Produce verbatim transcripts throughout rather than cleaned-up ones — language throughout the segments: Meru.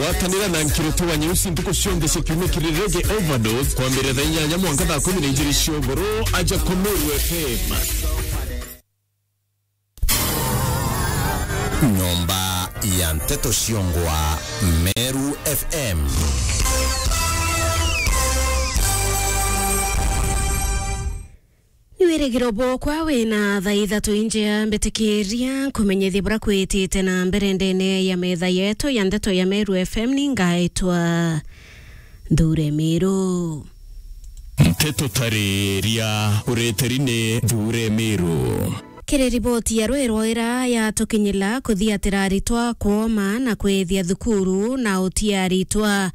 Gwatanira na Nkirutu wa Nyeusi ntuku cionthe cia kiumia kiri Reggae Overdose, kwambiriria thaa inyanya mwanka thaa kumi na ijiri cia ugoro, aja ku Meru F M. Nyomba ya nteto ciongwa, Meru F M. Ni wirigiro bwokwa wina thaa ithatu injea, mbitikiria nkumenyithie buria kwitite na mbere ndene ya metha yetu ya ndeto ya Meru F M. Ni ngaitwa Nthure Miru. Nteto tariria ureteri ni Nthure Miru. Kiri riboti ya rwirwa ira yatukinyila, kuthiatira aritwa kwoma na kwithia thukuru na utia aritwa.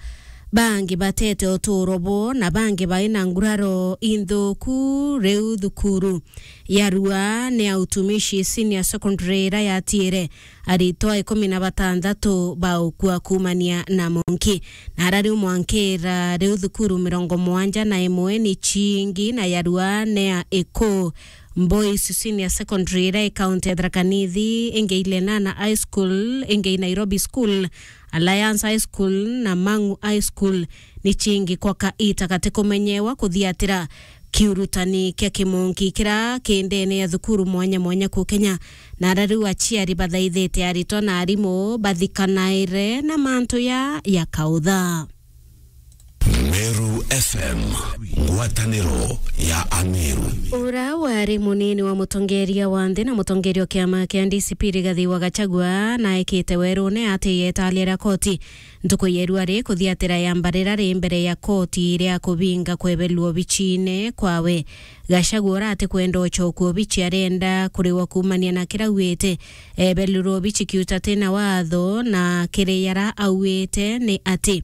Bangi batete uturo bo na bangi baina nguraro inthuku riu thukuru ya Rua ni ya Utumishi Senior Secondary ira yatiire aritwa ikumi na batantatu baukua kuumania na monki. Na ara riu mwankira riu thukuru mirongo mugwanja na imwe ni cingi na ya Rua ni ya Iku Boys Senior Secondary ira i kaunti ya Tharaka Nithi, ingi i Lenana High School, ingi i Nairobi School, Alliance High School na Mang'u High School. Ni cingi kwa kaita gati kumenyewa kuthiatira kiurutani kia kimonki kira ki ndene ya thukuru mwanya mwanya ku Kenya. Na ara riu aciari bathaithite aritwa na arimu bathikanaire na mantu ya ya kautha. Meru F M, ngwataniro ya Ameru. Ura wari munini wa mutongeria wa nthi na mutongeria o kiama kia D C P Rigathi wa Gachagua naikite werune ati yetalia ria koti ntuku ya irua ri kuthiatira ya mbarira ri mbere ya koti ria kubinga kwebelua obichine kwawe. Gachagua ura ati kwenda uchokua obichi arenda kuriwa kuumania na kira auite ebelirwe obichi kiuta tina watho na kiri yara auite ni ati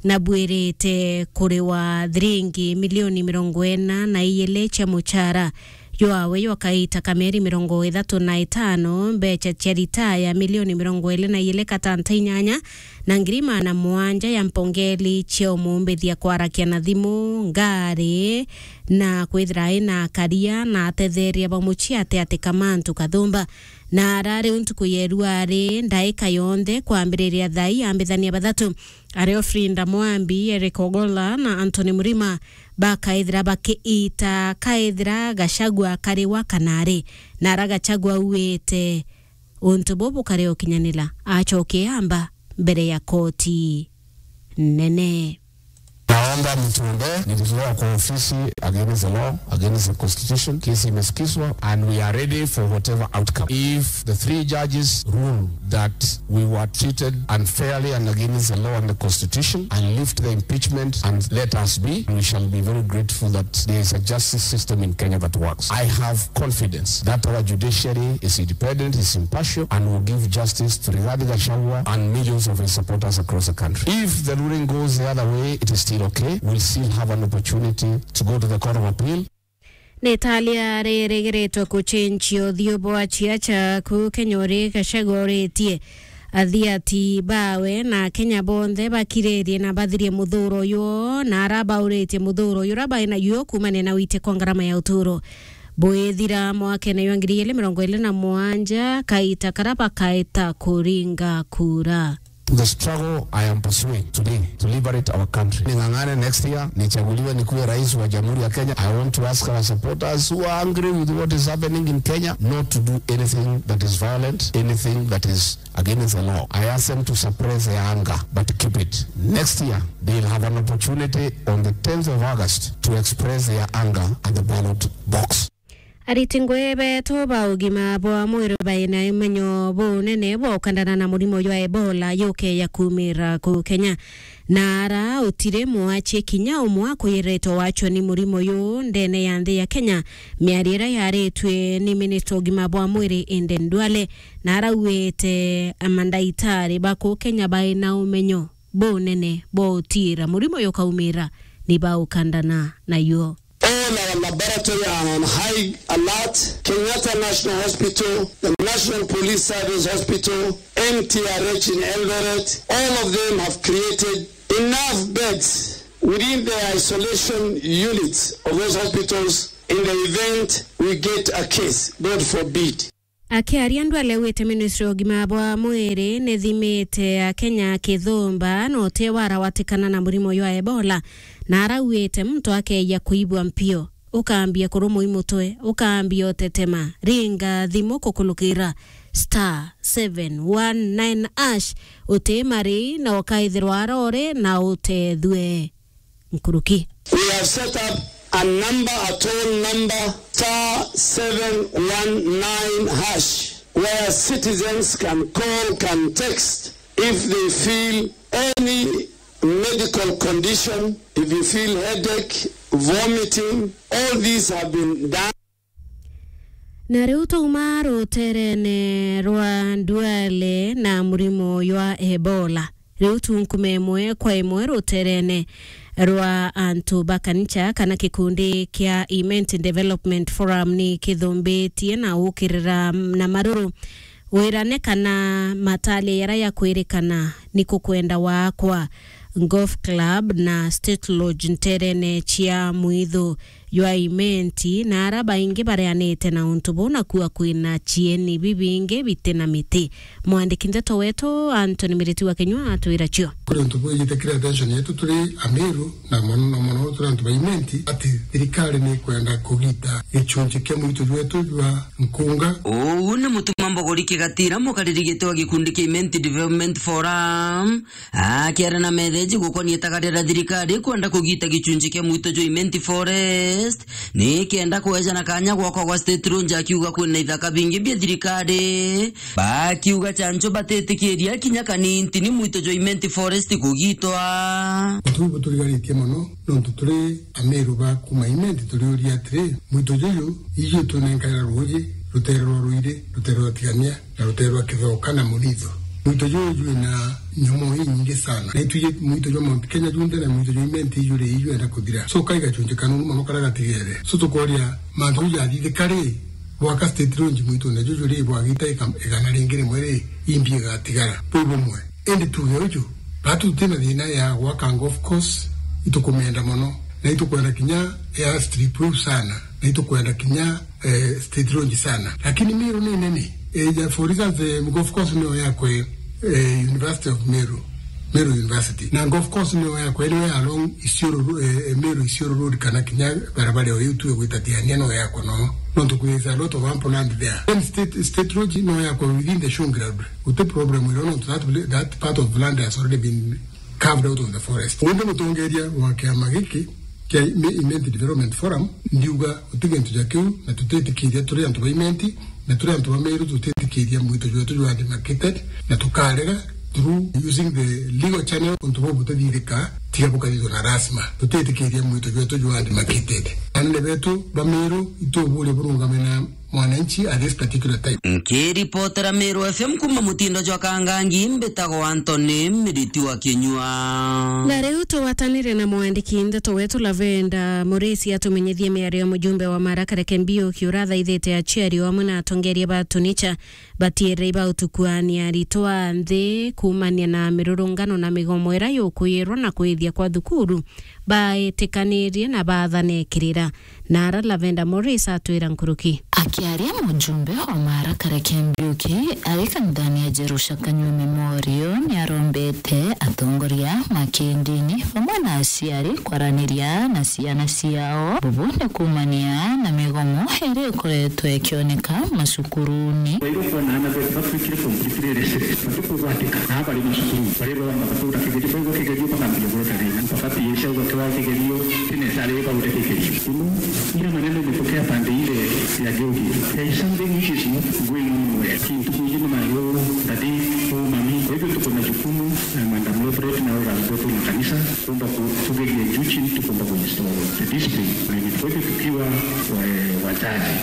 nabwirite kuriwa thiringi milioni mirongo ina na ijiri cia muchara jwawe jwa kaita ka mieri mirongo ithatu na itano, mbecha cia ritaya milioni mirongo iri na ijiri katanta inyanya na ngiri maana mugwanja ya mpongeli cia umumbithia kwarakia na thimu, ngari, na kwithira ina akaria na atetheria ba mucii ati ati kamantu kathumba. Na ara riu ntuku ya irua ri ndaika yonthe kwambiriria thaa ii ambithania bathatu ario Frinda Mwambi, Eric Ogolla na Anthony Mrima bakaithira bakiita kaithira Gachagua kariwa kana ari. Na ara Gachagua auite untu bubu bukare ukinyanira, acoke amba mbere ya koti nene. Naomba mtuombee, nilitolewa kwa ofisi against the law, against the constitution. Kesi imesikizwa and we are ready for whatever outcome. If the three judges rule that we were treated unfairly and against the law and the constitution and lift the impeachment and let us be, we shall be very grateful that there is a justice system in Kenya that works. I have confidence that our judiciary is independent, is impartial, and will give justice to Rigathi Gachagua and millions of his supporters across the country. If the ruling goes the other way, it is still okay. We'll still have an opportunity to go to the Court of Appeal. Ni talia ririgiritwe kuchenchia uthiu bwa ciaca ku Kenya uri Gachagua uritie athiati bawe na Kenya bonthe bakiririe na bathirie muthuro uyu, na ara bauritie muthuro uyu ura baina yuo kuumania na wite kwa ngarama ya uturo. Bwithira mwakene jwa ngiri igiri mirongo iri na mugwanja, kaita kara bakaita kuringa kura. The struggle I am pursuing today to liberate our country. Ning'ang'ane next year, nichaguliwe nikuwe rais wa Jamhuri ya Kenya. I want to ask our supporters who are angry with what is happening in Kenya not to do anything that is violent, anything that is against the law. I ask them to suppress their anger, but keep it. Next year, they'll have an opportunity on the tenth of August to express their anger at the ballot box. Ariti ngui betu ba ugima bwa mwiri baina umenyo bunene bwa ukandana na murimo jwa Ebola yuke ya kumira ku Kenya. Na ara utiri mwachi kinya umwe akwiritwe wachwa ni murimo uyu ndene ya nthi ya Kenya. Miario iria yaritwe ni minista ugima bwa mwiri Aden Duale, na arauite amandaitari ba ku Kenya baina umenyo bunene bwa utiira murimo uyu ukaumira ni ba ukandana nayo. All our laboratory are on high alert. Kenyatta National Hospital, the National Police Service Hospital, M T R H in Eldoret, all of them have created enough beds within the isolation units of those hospitals in the event we get a case, God forbid. Akiaria Duale augite ministry ya ugima bwa mwiri nithimite Akenya kithumba na uti warawatikana na murimo jwa Ebola, na arauite muntu akeeja kuibwa mpio, ukambia kurumwa i mutwe, ukambia utetema, ringa thimu kukulukira star seven one nine hash, uti mari na ukaithirwa arore na utethue. Nkuruki. We have set up a number, a toll number, star seven one nine hash, where citizens can call, can text if they feel any medical condition, if you feel headache, vomiting, all these have been done. Na riu twauma ruterene rwa Duale na murimo jwa Ebola. Riu tu nkuma imwe kwa imwe ruterene rwa antu ba kanisa kana gikundi kia Imenti Development Forum ni kithumbitie na ukirira na maruru wirane kana matalia yara ya kwirikana ni kukwenda wakwa Golf Club na State Lodge nterene cia mwitho jwa Imenti, na ara baingi bareanite na untu buu, na kua kwina cieni bibingi biti na miti. Mwandiki ndeto wetu Anthony Miriti wa Kinyua atwira cio. Kuri untu bwijite kiri attention yetu turi Amiru, na mono na mono turi antu ba Imenti, ati thirikari ni ikwenda kugita gicunji kia mwitho jwetu jwa nkunga. Uu ni Mutuma Mbogori Kigatira, mukariri giti wa gikundi kia Imenti Development Forum, akiaria na metheji gukonia itagaria ria thirikari kwenda kugita gicunji kia mwitho jwa Imenti Forest, ni kenda kwejana kanya gwakwa gwa State Lodge, akiuga kwina ithaka bingi bia thirikari. Bakiuga chancho batitikiria kinya kanini ntini mwitho jwa Imenti Forest kugitwa. Utu buturigaritie mono, nontu turi Amiru ba kuma Imenti turiuria atiri, mwitho juju iju twinenkaira ruuji, rutere rwa Ruiri, rutere rwa Tigania, na rutere rwa Kithoka na Muritho. Mwitho juju jwina nyomo inyingi sana. Na itwiji mwitho jwa Mount Kenya junthe na mwitho jwa Imenti iju ri iju enda kuthira. So, kaiga chunje kanunu mono kara gatigere. So, tukoria mantu jathithika ri, bwaka State Lodge mwitone juju ri, bwagita ika-, igana ringi rimwe ri, imbi igatigara. Bwi bumwe. Indi tuge uju, batu tutina thina ya gwaka golf course, itukumenda mono. Na itukwenda kinya airstrip iu sana. Na itukwenda kinya eh, State Lodge sana. Lakini Meru ni nene. Eh, ja, for instance, eh, golf course niyo yakwe, eh, University of Meru, Meru University. Na golf course niyo yakwe, niyo ya along Isiolo Ro-, eh, eh, Meru Isiolo Road kana kinya barabara iyo tu igwita Tigania no yakwe no. Nontu there is a lot of ample land there. Then State, State Lodge no yakwe within the showground. Guti problem iro nontu that, that part of land has already been carved out of the forest. Undi mutongeria wa kiama giki kia Ime-, Imenti Development Forum, ndiuga guti gintu ja kiu, na tutitikiria turi antu ba Imenti, na turi antu ba Meru, tutitikiria mwito jwetu jwa demarcated, na tukarega through using the legal channel, untu buu butithithika, tiga bukathithwa na rasma. Tutitikiria mwito jwetu jwa demarcated. Anene betu ba Meru, ituburia burungame na mwananchi at this particular time. Nkiripotera Meru F M kuma mutindo jwa Kangangi, mbitagwo Anthony Miriti wa Kinyua. Na riu tugwatanire na mwandiki ndeto wetu Lavenda Murisi atumenyithie miario ya mujumbe wa Marakara Kembiuki urathaithite aciari o amwe na atongeria ba Tunicha batiere ibautukuania aritwa nthi kuumania na mirurungano na migomo ira yukuyirwa na kwithia kwa thukuru baetikanirie na baathanekirira. Na ara Lavenda Morris atwira nkuruki. Akiaria mujumbe wa Marakara Kembiuki ari kanithani ya Jerusha Kanyua Memorial, niarombete atongoria ma kindini bamwe na aciari kwaraniria na ciana ciao. Bubu ni kuumania na migomo iria ikoretwe ikioneka macukuruni. Kwa hivyo, kwa nana betu batwikire completely restricted, batikugwatika na bari macukuru, bari baba baturakigerio, baigwa kigerio bakambia gweta thina, mpaka P S auga kiwa kigerio, tinetare baude kigerio. Ino, ile maneno imetokea pande ile ya Georgia. There is something which is not going on well. Kintu kingine mayo, daddy, oh, mami. Kwa hivyo tuko na jukumu, eh, Madam Lopret na elders wetu na kanisa, kuomba ku-, tugerie juu chini, tukuomba kuinstall the discipline. Kwa hivyo tukiwa, eh, wazazi,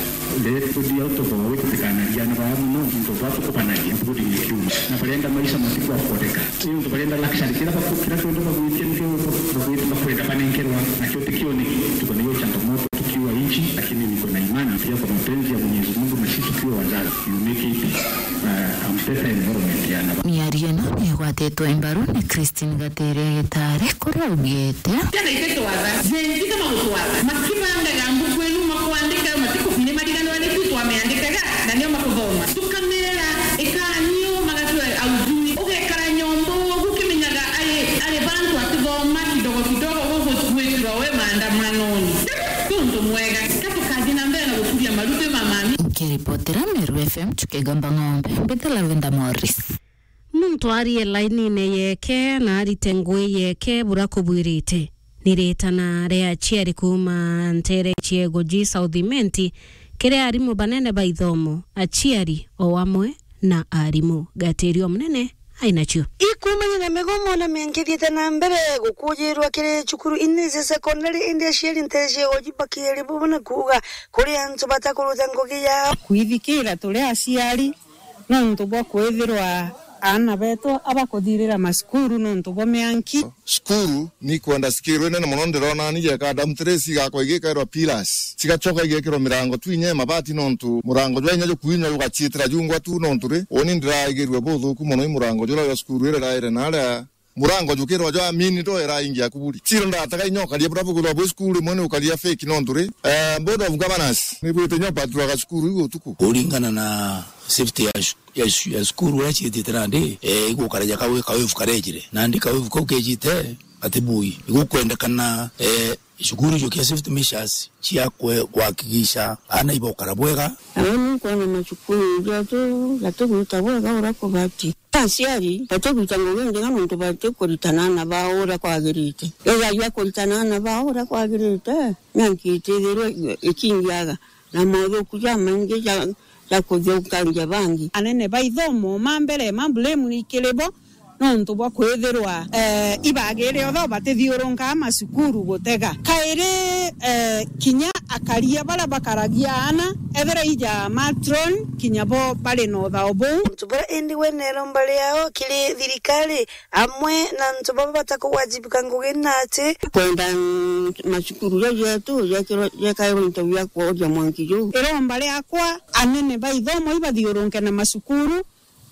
let go out of our way, tutikanagia na baa muno, into baa tukubanagia, including the kiume. Na barenda maisha matiku akodeka. Into barenda luxury, kira baku-, kira kiondo bagwitia nikio bagwiti bakwenda banenkerwa, nakio tikioneki. Tuko na hiyo changamoto tukiwa nchi, lakini niko na imani pia kwa mapenzi ya Mwenyezi Mungu na sisi tukiwa wazazi, you make it, uh, a better environment ya na. Miario ino nigwatitwe mbaru ni Christine Gatere Gitare, kuria augite. Kenda ititwatha, Gen Z kama gutwatha, makibangaga mbuku inu makwandika, matiku-, ni mariganwa ni tu twameandikaga, na nio makuthoma. Botera Meru F M tukigamba ng'ombe. Mbita Lavenda Morris. Muntu arie lainine yeke na arite ngui yeke bura kubwirite. Ni ritana ria aciari kuuma ntere ciego ji South Imenti kiri arimu banene ba ithomo, aciari o amwe na arimu. Gatirio munene ainacio. Ikumania na migomo na mianki ithiite na mbere gukujirwa kiri cukuru ini cia sekondari, indi aciari ntere ciego ji bakiri bo na kuuga kuri antu batakuruta ngugi yao. Kwithikira turi aciari nontu bwa kwithirwa aana betu abakuthirira macukuru nontu bwa mianki. Cukuru ni kwenda cikirwe nene mono, ndirona ni jeka dam trace igakwa igikairwa pillars, cigacoka igekirwa mirango tu inya ya mabati, nontu murango jwa inya jukuinywa jugaciitira jungwa tu, nontu ri, uni ndiraigirwe buthuku mono i murango jura jwa cukuru ira iraire naria. Murango jukirwa jwa mini ndo iraingia kuburi. Ciro ndatega inya ukaria bura bugurwa bwi cukuru imwe ni ukaria fake nontu ri, eh, Board of Governors ni bwite inya upaturaga cukuru iu utuku. Kuringana na safety ya cu-, ya cu-, ya cukuru uria ciitite nandi, eh, igukara ja kawi-, kawivu karejire. Nandi kawivu kau kejite, ati bui. Igukwendekana, eh, cukuru icio kia safety measures cia kwe-, kuhakikisha aana ibokara bwega. Nawe nukwona macukuru jetu jatigwita bwega uria kubati. Aciari batigwita ngugi njega nontu batikuritana aana bao uria kwagirite. Ethagirwa kuritana aana bao uria kwagirite, mianki itithirwe ikingiaga na mothuku jamaingi ja, ja kuthukangia bangi. Anene ba ithomo ma mbere ma blame ni kiri bo, nontu bwa kwithirwa, eh, ibagire otho batithiurunkaa macukuru gutega. Kairi, eh, kinya akaria baria bakaragia aana, ethira ija matron, kinya bo bari na uthao buu. Antu baria indi we neromba riao kiri thirikari, amwe na antu baba batakugwajibika ngugi na ati. Kwenda, mm, macukuru jau jetu jekirwe, jekairwe into bia kworia mwanki juu. Iromba riakwa, anene ba ithomo ibathiurunke na macukuru,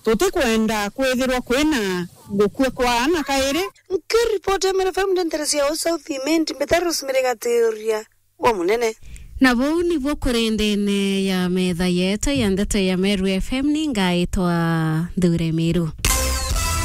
tutikwenda kwithirwa kwina gukua kwa aana kairi. Nkiripoti ya Meru F M ndentere cia South Imenti, mbita Rosemary Gatiuria wa Munene. Na buu nibuo kuri ndene ya metha yetu ya ndeto ya Meru F M, ni ngaitwa Nthure Miru.